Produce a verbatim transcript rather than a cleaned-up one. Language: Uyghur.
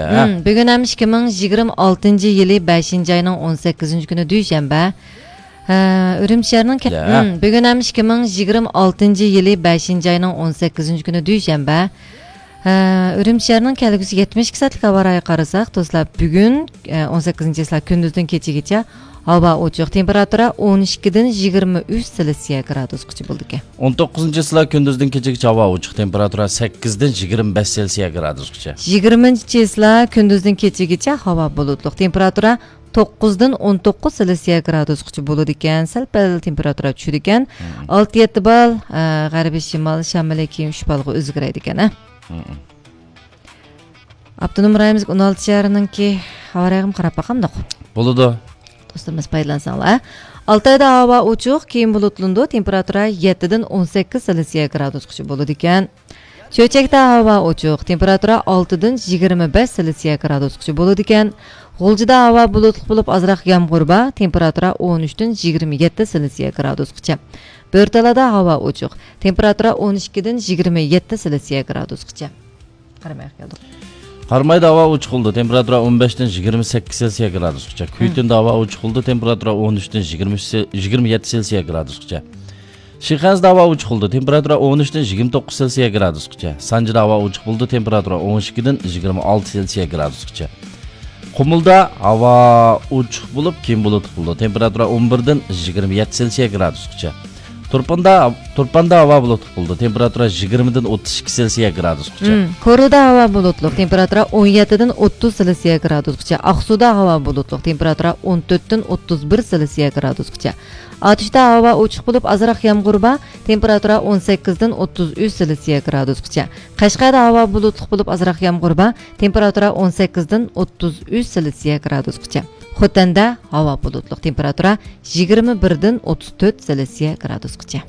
ھە. مم، بۈگۈن ھەم ئىككى مىڭ يىگىرمە ئالتىنچى يىلى بەشىنچى ئاينىڭ ئون سەككىزىنچى كۈنى، دۈشەنبە. ھە، ئۈرۈمچى شەھىرىنىڭ كە-، يا. مم، بۈگۈن ھەم ئىككى مىڭ يىگىرمە ئالتىنچى يىلى بەشىنچى ئاينىڭ ئون سەككىزىنچى كۈنى، دۈشەنبە. ھە، ئۈرۈمچى شەھىرىنىڭ كەلگۈسى يەتمىش ئىككى سائەتلىك ھاۋا رايىغا قارىساق، دوستلار، بۈگۈن، ئە، ئون سەككىزىنچى چىسلا كۈندۈزدىن كېچىگىچە ھاۋا ئوچۇق، تېمپېراتۇرا ئون ئىككىدىن يىگىرمە ئۈچ سېلسىيە گرادۇسقىچە بولىدىكەن. ئون توققۇزىنچى چىسلا كۈندۈزدىن كېچىگىچە ھاۋا ئوچۇق، تېمپېراتۇرا سەككىزدىن يىگىرمە بەش سېلسىيە گرادۇسقىچە. يىگىرمىنچى چىسلا كۈندۈزدىن كېچىگىچە ھاۋا بۇلۇتلۇق، تېمپېراتۇرا توققۇزدىن ئون توققۇز سېلسىيە گرادۇسقىچە بولىدىكەن. سەل پەل تېمپېراتۇرا چۈشىدىكەن. مم. ئالتە يەتتە بال، ئە، غەربىي شىمال شامىلى كېيىن ئۈچ بالغا ئۆزگىرەيدىكەن، ھە؟ مم. ئاپتونوم رايونىمىزدىكى ئون ئالتە شەھەرنىڭكى ھاۋا رايىغىمۇ قاراپ باقامدۇق؟ بولىدۇ. دوستلىرىمىز پايدىلانساڭلار. ئالتايدا ھاۋا ئوچۇق، كېيىن بۇلۇتلىنىدۇ، تېمپېراتۇرا يەتتىدىن ئون سەككىز سېلسىيە گرادۇسقىچە بولىدىكەن. چۆچەكتە ھاۋا ئوچۇق، تېمپېراتۇرا ئالتىدىن يىگىرمە بەش سېلسىيە گرادۇسقىچە بولىدىكەن. غۇلجىدا ھاۋا بۇلۇتلۇق بولۇپ، ئازراق يامغۇر بار، تېمپېراتۇرا ئون ئۈچتىن يىگىرمە يەتتە سېلسىيە گرادۇسقىچە. بۆرتالادا ھاۋا ئوچۇق، تېمپېراتۇرا ئون ئىككىدىن يىگىرمە يەتتە سېلسىيە گرادۇسقىچە. قارامايغا كەلدۇق. قارامايدا ھاۋا ئوچۇق بولىدۇ، تېمپېراتۇرا ئون بەشتىن يىگىرمە سەككىز سېلسىيە گرادۇسقىچە. كۈيتۇندا ھاۋا ئوچۇق بولىدۇ، تېمپېراتۇرا ئون ئۈچتىن يىگىرمە ئۈچ سېل-، يىگىرمە يەتتە سېلسىيە گرادۇسقىچە. شىخەنزىدە ھاۋا ئوچۇق بولىدۇ، تېمپېراتۇرا ئون ئۈچتىن يىگىرمە توققۇز سېلسىيە گرادۇسقىچە. سانجىدا ھاۋا ئوچۇق بولىدۇ، تېمپېراتۇرا ئون ئىككىدىن يىگىرمە ئالتە سېلسىيە گرادۇسقىچە. قۇمۇلدا ھاۋا ئوچۇق بولۇپ، كېيىن بۇلۇتلۇق بولىدۇ، تېمپېراتۇرا ئون بىردىن يىگىرمە يەتتە سېلسىيە گرادۇسقىچە. تۇرپاندا، تۇرپاندا ھاۋا بۇلۇتلۇق بولىدۇ، تېمپېراتۇرا يىگىرمىدىن ئوتتۇز ئىككى سېلسىيە گرادۇسقىچە. مم. كورلىدا ھاۋا بۇلۇتلۇق، تېمپېراتۇرا ئون يەتتىدىن ئوتتۇز سېلسىيە گرادۇسقىچە. ئاقسۇدا ھاۋا بۇلۇتلۇق، تېمپېراتۇرا ئون تۆتتىن ئوتتۇز بىر سېلسىيە گرادۇسقىچە. ئاتۇشتا ھاۋا ئوچۇق بولۇپ، ئازراق يامغۇر بار، تېمپېراتۇرا ئون سەككىزدىن ئوتتۇز ئۈچ سېلسىيە گرادۇسقىچە. قەشقەردە ھاۋا بۇلۇتلۇق بولۇپ، ئازراق يامغۇر بار، تېمپېراتۇرا ئون سەككىزدىن ئوتتۇز ئۈچ سېلسىيە گرادۇسقىچە. خوتەندە ھاۋا بۇلۇتلۇق، تېمپېراتۇرا يىگىرمە بىردىن ئوتتۇز تۆت سېلسىيە گرادۇسقىچە.